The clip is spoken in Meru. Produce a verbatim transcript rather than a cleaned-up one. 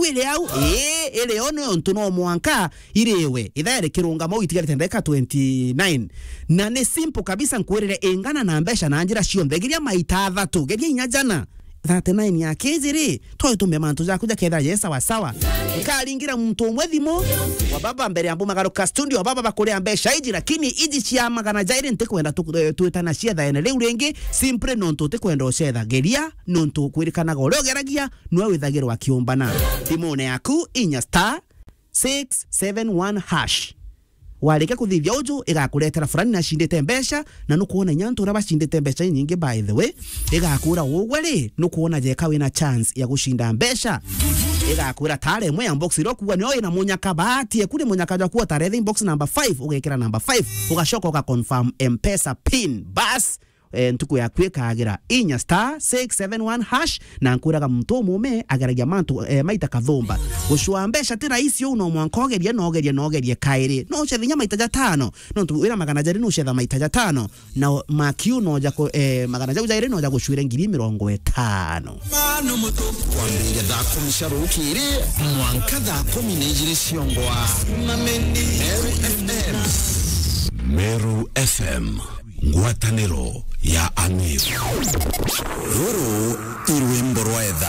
iri au, ii, iri o nontu no mwanka iriwe. Ithaa rikirungama uu itigarite ndagika twenty-nine. Na ni simple kabisa, nkwirire ingana na mbeca na njira cionthe. Geria maita athatu, geria inya jana. Thirty-nine ya kiji ri, twae tumbe mantu jaku jakethira je sawa sawa. Nkaringira muntu umwe thimu, wa baba mbere ya mbumagaruka studio, wa baba bakuria mbeca iji, lakini iji cia magana jairi ntikwenda tu-, eh, twitana ciethaene riu ringi, simply nontu utikwenda ucetha. Geria, nontu kwirikanaga uria ugeragia, nwe withagirwa akiumbana. Thimune yaku, inya star six seven one hash. Warika kuthithia uju, igakuretera fulani nacindite mbeca, na nukwona inya antu uria bacindite mbeca inyingi, by the way, igakwira ugwe ri, nukwona jeka wina chance ya gucinda mbeca. Igakwira tare imwe ya box iria ukuga nio ina munyaka bahati, eku ni munyaka jwaku utaretha box number five, ugekira number five, ugacoka uga confirm M-Pesa pin. Bas, eh, ntuku yaku ikagira. Inya star six seven one hash, na nkwiraga muntu umume ageragia mantu, eh, maita kathumba. Gucua mbeca ti rahisi uu, no mwanka ugerie, na ugerie, na ugerie kairi. No ucethe inya maita jatano. Nontu wina magana jari no ucetha maita jatano. Na o-, makiu no jako-, eh, magana jau jairi no jagucuire ngiri mirongo itano. Kwambiriria thaa kumi cia rukiri mwanka thaa kumi na ijiri cia ongwa. Meru F M. Meru F M. Ngwataniro ya Ang'iri. Ruru i rwimbo rwa etha.